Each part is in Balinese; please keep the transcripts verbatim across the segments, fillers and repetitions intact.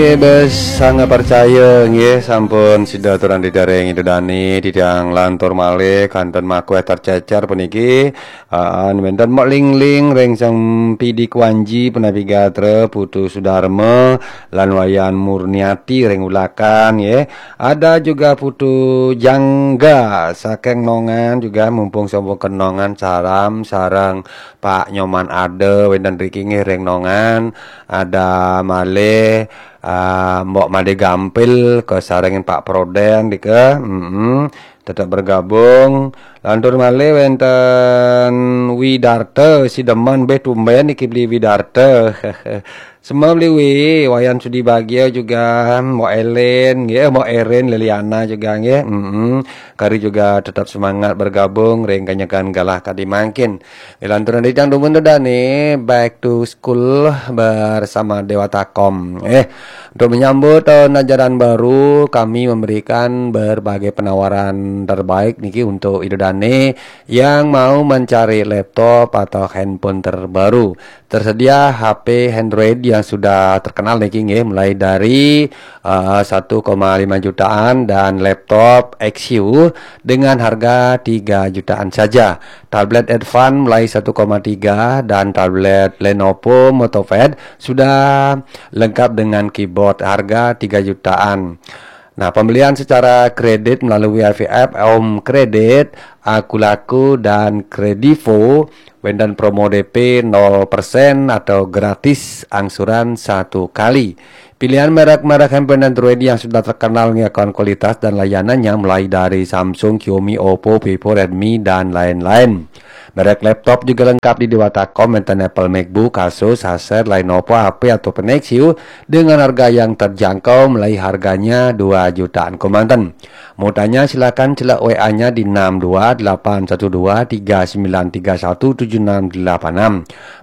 Bes sangat percaya nggih, sampun sida aturang didareng Ida Dane titiang lantur malih kanten makueh tercecer puniki. Aa, wenten Mok Lingling ring Sang Pidi Kuanji, punapi gatra Putu Sudarma lan Wayan Murniati ring Ulakan nggih. Ada juga Putu Jangga saking Nongan juga, mumpung sampun kenongan saram sareng Pak Nyoman ada wenten riki nggih ring Nongan. Ada malih ah, Mbok Made Gampil kasarengin Pak Proden dika. Mm-mm. Tetap bergabung. Lantur malih wenten Widarta, si demen beh tumben niki beli Widarta. Semua beli Wi, Wayan Sudi Bagia juga, Mbok Elen nggih, Mbok Erin Liliana juga nggih. Mm-mm. Kari juga tetap semangat bergabung ring kanyekan galah kadi mangkin. Lanturan dicang dumun tu dane back to school bersama Dewata Kom. Eh, untuk menyambut tahun ajaran baru, kami memberikan berbagai penawaran terbaik niki untuk Ida Dane yang mau mencari laptop atau handphone terbaru. Tersedia H P Android yang sudah terkenal niki nggih, mulai dari uh, satu koma lima jutaan dan laptop X U dengan harga tiga jutaan saja. Tablet Advan mulai satu koma tiga dan tablet Lenovo MotoPad sudah lengkap dengan keyboard, harga tiga jutaan. Nah, pembelian secara kredit melalui I V F, Om Kredit, Akulaku, dan Kredivo, wenten promo D P nol persen atau gratis angsuran satu kali. Pilihan merek-merek handphone Android yang sudah terkenal dengan kualitas dan layanannya mulai dari Samsung, Xiaomi, Oppo, Vivo, Redmi, dan lain-lain. Merek laptop juga lengkap di Dewata Kom, wenten Apple MacBook, Asus, Acer, Lenovo, H P, ataupun Nexus dengan harga yang terjangkau, mulai harganya dua jutaan kemanten. Mau tanya, silakan celak W A-nya di enam dua delapan satu dua tiga sembilan tiga satu tujuh enam delapan enam.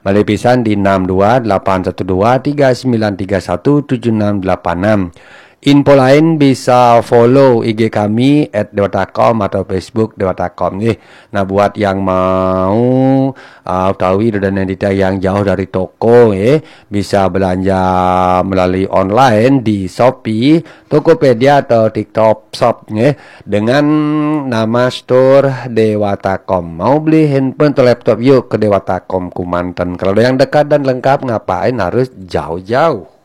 Malih pisan di enam dua delapan satu dua tiga sembilan tiga satu tujuh enam delapan enam. Info lain bisa follow I G kami at dewata com atau Facebook Dewata Com nggih. Nah, buat yang mau uh, utawi Ida Dane Dita yang jauh dari toko nggih, bisa belanja melalui online di Shopee, Tokopedia atau TikTok Shop nggih, dengan nama store Dewata Com. Mau beli handphone atau laptop, yuk ke Dewata Com Kumanten. Kalau ada yang dekat dan lengkap, ngapain harus jauh-jauh?